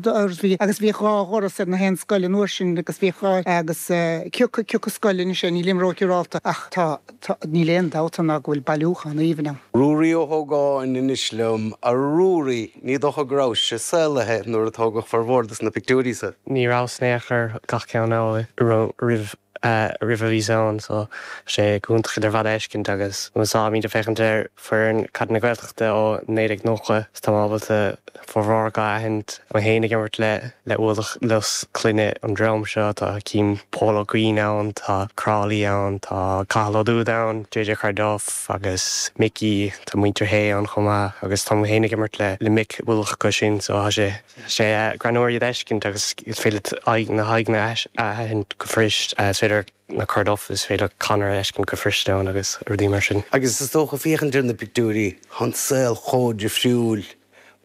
Bhí, agus bhíodh 2 dhoras ar na haon scoil an uair sin agus bhíodh 2, agus cioca, cioca scoil anois é, nílim róshiúrálta ach tá, tá, níl aon dabht ann ná go bhfuil bailiúchán aoibhinn ann. Ruairí Ó hÓgáin anois liom. A Ruairí, ní dócha go rabhais saolaithe nuair a tógadh formhór dos na pictiúirí so. Ní rabhas in aon chor gach ceann roimh roimh a bhíos ann so tá sé go hiontach iad ar fad a fheiscint agus táimid ag féachaint ar foireann Caide na Gaeltachta ó 1990 is tá mé ábalta formhór acu a aithint. Mé féin ag imirt le le ualach luas clainne an dream seo, tá cím Pól Ó Cuinn ann, tá Crawley ann, tá Cathal Ó Dúda ann, JJ Carduff agus Mickey, tá muintir Shé ann chomh maith agus tá mé féin ag imirt le le mic ualach acu sin so tá sé sé greannmhar iad a fheiscint agus is féidir leat aghaidh na haghaidheanna a aithint go fuirist, is féidir na Carduff, is féidir Conor a fheiscint go fuirist ann agus rudaí mar sin. Agus is dócha féachaint ar na pictiúirí, tá an saol chomh difriúil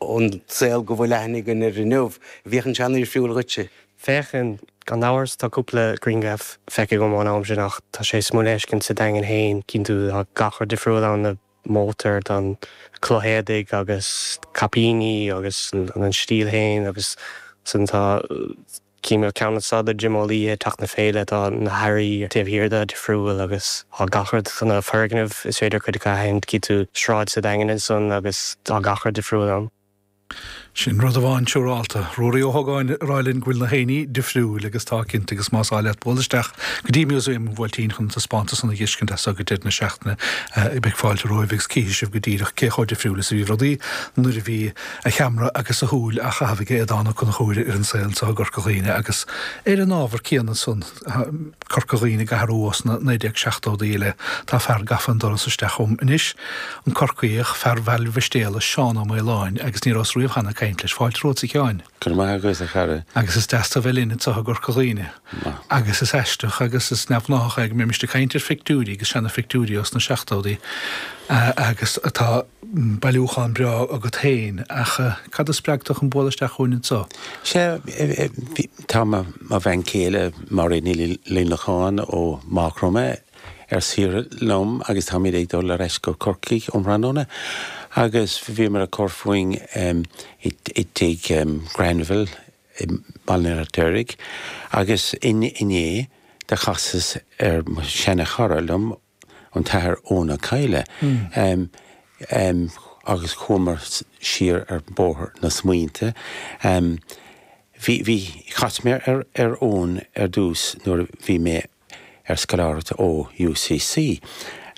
ón saol go bhfuil aithne againn air inniu. Bhíodh sé an-difriúil dhuitse. Féachann, gan amhras, tá cúpla grianghraf feicthe agam ón am sin ach tá sé suimiúil a fheiscint sa Daingean féin, cíonn tú tá gach rud difriúil ann, na mótair, tá an cloch éadaigh agus caipíní agus an stíl féin agus ansan tá Cím ceann anso de Jim Ó Laoithe ag teach na Féile, tá na hearraí taobh thiar de difriúil agus tá gach rud, tá na foirgnimh, is féidir cuid acu a aithint, cíonn tú sráid sa Daingean ansan agus tá gach rud difriúil ann. Sin rud amháin siúrálta. Ruairí Ó hÓgáin ag rá linn go bhfuil na haoinní difriúil agus tá cinnte agus más áil leat bualadh isteach go dtí Músaem an Bhuailtín chun an taispeántas san a dh'fheiscint as so go deireadh na seachtaine beidh fáilte romhaibh agus cífidh sibh go díreach cé chomh difriúil is a bhí rudaí nuair a bhí a cheamara agus a shúil á chaitheamh ag Aodhán Ó Conchúir ar an saol anseo i gCorca Dhuibhne agus ar an ábhar céanna san, Corca Dhuibhne ag athrú ó sna 1970idí i leith. Tá fear gafa an doras isteach chugam anois, an Corcaíoch, fear Bhaile Mhistéala, Seán Ó Maoláin, agus ní rabhas riamh cheana ag caint leis. Fáilte romhat, a Sheáin. Go raibh maith agat, a chara. Agus is deas tú a bheith linn anseo i gCorca Dhuibhne. Agus is aisteach agus is neamhghnáthach é go mbeimis ag caint ar phictiúirí agus seana-phictiúirí ós na seachtóidí agus tá bailiúchán breá agat féin, ach cad a spreag tú chun bualadh isteach chugainn anseo? Sea, tá mo bhean chéile, Máiréad Ní Luimneacháin ó Mhaigh Chromtha, ar saoire liom agus táimid ag dul ar ais go Corcaigh um thráthnóna agus bhíomar ag cur fúinn i dtigh Granville i mBaile an Fheirtéaraigh agus inné do chasas ar mo sheana-chara liom an tAthair Eoin Ó Cadhla, agus chuamar siar ar bóthar na smaointe. Bhí, bhí, chas mé ar, ar Eoin ar dtús nuair a bhí mé ar scoláireacht ó UCC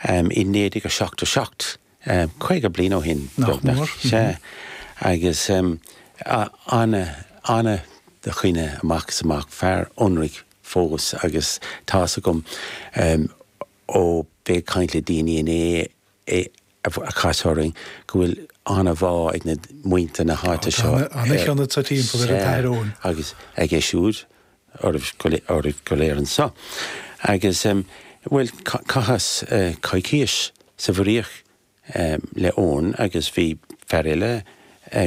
i 1977, 50 bliain ó shin, beagnach. Sea. Agus ana, ana dhuine amach is amach, fear ionraic fós agus tá's agam ó bheith ag caint le daoine inné a chas orainn go bhfuil an-bhá ag na muintir na háite seo Tá ana-chion sa timpeall ar an tAthair Eoin. agus aige siúd oraibh go léir anseo. Agus bhuel chaitheas coicíos sa bhFraoch le Eoin agus bhí fear eile,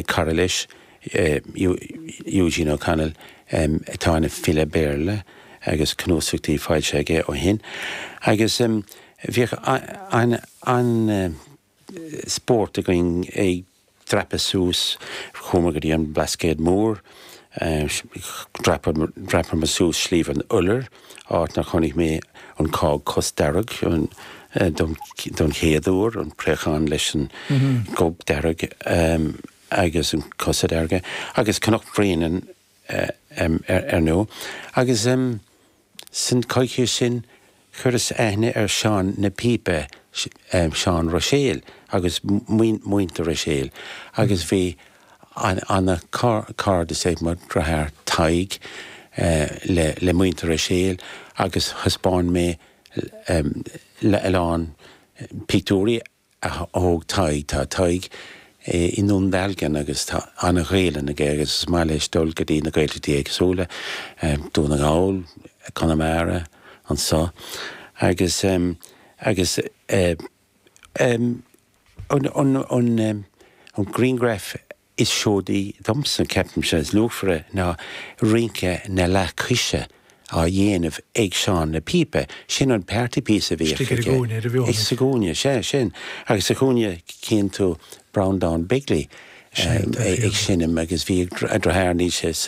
cara leis, Eugene O'Connell, atá ina file Béarla agus cnuasachtaí foilsithe aige ó shin. Agus bhíodh an-spórt againn ag dreapadh suas, chuamar go dtí an Blascaod Mór, dhreapamar suas Sliabh an Iolair, áit 'nar chonaic mé an cág cosdearg don chéad uair, an préachán leis an gob dearg agus an cosa dearga, agus Cnoc Bréanainn ar ndóigh. Agus san choicíos sin chuireas aithne ar Seán na Pípe, Seán Ruiséal agus muintir Ruiséil, agus bhí ana-chairdeas ag mo dhriotháir Tadhg le muintir Ruiséil agus thaispeáin mé a lán pictiúirí a thóg Tadhg. Tá Tadhg i nDún Dealgan agus tá ana-Ghaelainn aige agus is maith leis dul go dtí na Gaeltachtaí éagsúla, Dún na nGall, Conamara, anso agus agus an an grianghraf is seodaí domsa, ceapaimse, is luachmhaire ná rince na leathchoise á dhéanamh ag Seán na Pípe. Sin an party piece a bhíodh Istigh ar an aige. gcúinne, ar an bhfeoirn. Sa gcúinne, sea, sin. Agus sa chúinne cíonn tú Breandán Bigley. ag seinm agus bhí a deartháir, níl sé sa.